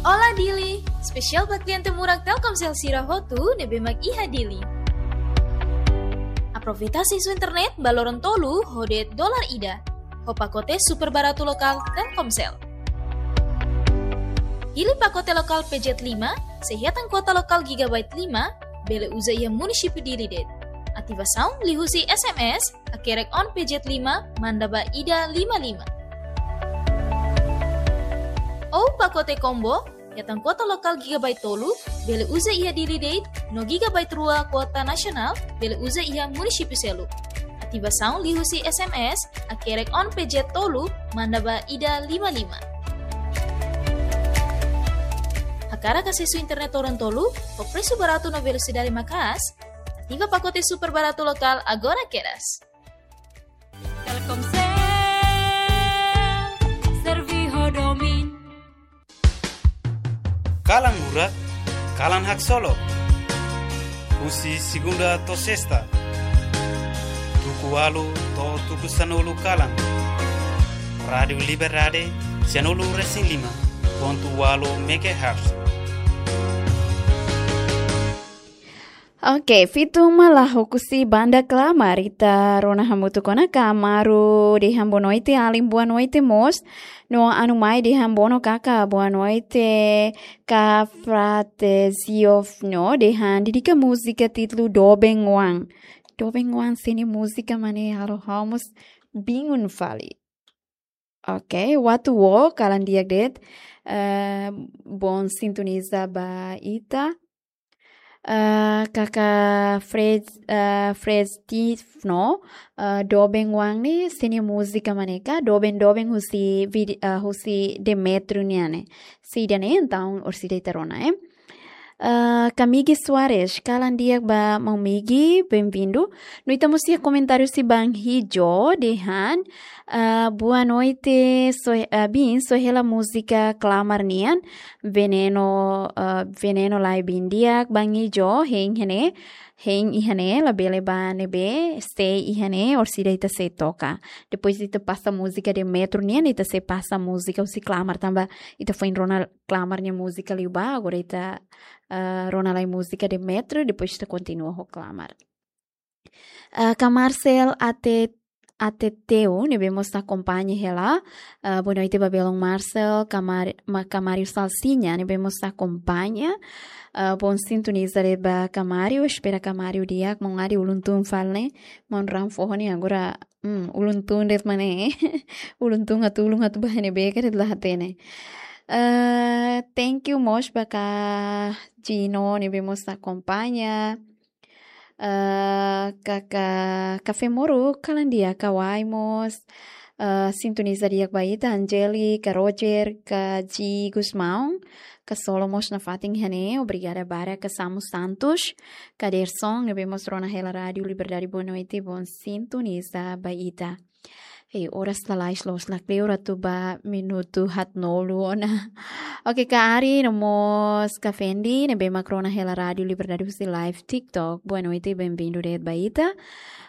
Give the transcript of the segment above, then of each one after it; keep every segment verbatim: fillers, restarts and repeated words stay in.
Olá Dili! Espesiál ba kliente murak Telkomsel sira hotu ne'ebé mak iha Dili. Aproveita asesu internet ba loron tolu ho de'it dolar ida, ho pakote super baratu lokál Telkomsel. Pilih pakote lokál P Z lima, sei hetan kuota lokál gigabyte lima, bele uza iha munisípiu Dili de'it. Ativasaun liuhusi S M S, hakerek on P Z lima, manda ba ida lima lima. Ou pakote combo, hetan kuota lokál gigabyte tolu, bele uza iha Dili de'it, no gigabyte rua kuota nasionál, bele uza iha munisípiu seluk. Ativasaun liuhusi S M S, hakerek on P Z tolu, manda ba ida lima lima. Hakarak asesu internet loron tolu, ho presu baratu no velosidade maka'as, ativa pakote super baratu lokál agora kedas. Telkomsel, servi ho domin. Kalan murak, kalan haksolok. Husi segunda to'o sesta, tuku ualu to'o tuku sanulu kalan. Rádiu Liberdade, sanulu resin lima pontu ualu megahertz. Oke, fitu malah husi banda Klamar, ita rona hamutuk ona. Kamaru dehan boa noite, alin boa noite mós. No Anumai dehan bono kaka boa noite, ka Frate Ziofno dehan dedika múzika títulu Doben Wan. Doben Wan sini múzika mane, halo ha'u mós bingung fali. Oke, Watuwo, kalan di'ak de'it, eh, bom sintoniza ba ita. Eh, kaka Fred, eh, Fred Steve no, eh, Doben Wan ne'e sini múzika mane ka, Doben Doben husi vide-, eh, husi Demetrio nian ne'e. Se ida-ne'e, entaun orsida ita rona, eh. Eh, Kamigi Soares, kalan di'ak ba maun Migi, bem-vindo. No ita mós iha komentáriu husi Bang Hijo, dehan, eh, boa noite, so, eh, bin, só hela múzika Klamar nian, Veneno, eh, Veneno lai bin di'ak, Bang Hijo, hein iha ne'e, hein iha ne'e, labele bá ne'ebé, sei iha ne'e, orsida ita sei toka. Depois ita pasa múzika Demetrio nian, ita sei pasa múzika husi Klamar tanba ita foin rona Klamar nia múzika liubá, agora ita, eh, rona lai múzika Demetrio, depois ita kontinua ho Klamar. Eh, ka Marcel Ate-, Ateteu, ne'ebé mós akompaña hela. Eh, boa noite ba belun Marcel, ka Mar-, ma-, ka Mário Salsinha, ne'ebé mós akompaña. Eh, bom sintoniza de'it ba ka Mário, espera ka Mário di'ak, maun Adi ulun tun fali ne'e, maun raan foho ne'e agora, hmm, ulun tun de'it mane. Ulun tun atu ulun atu ba ne'ebé ka de'it la hatene. Eh, thank you mós ba ka Gino, ne'ebé mós akompaña. Eh, ka, ka, Kafé Moru, kalan di'ak, ka Wai mós. Eh, sintoniza di'ak ba ita, Angeli, ka Roger, ka Ji Gusmão, ka Solo mós nafatin iha ne'e, obrigada barak, ka Samu Santos, ka Derson, ne'ebé mós rona hela Rádiu Liberdade, boa noite, bom sintoniza ba ita. Hei, oras lalais loos la kleur atu ba minutu haatnulu ona. Oke, ka Ari, no mós ka Fendi, ne'ebé mak rona hela Rádiu Liberdade husi live TikTok. Boa noite, bem-vindo de'it ba ita.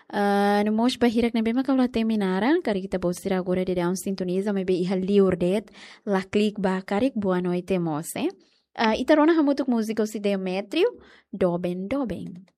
Ah, no mós ba hirak ne'ebé mak ha'u la temi naran, karik ita-boot sira agora daudaun sintoniza, maibé iha liur de'it, la klik ba karik, boa noite mós, eh. Ah, ita rona hamutuk múzika husi Demetrio, Doben Doben.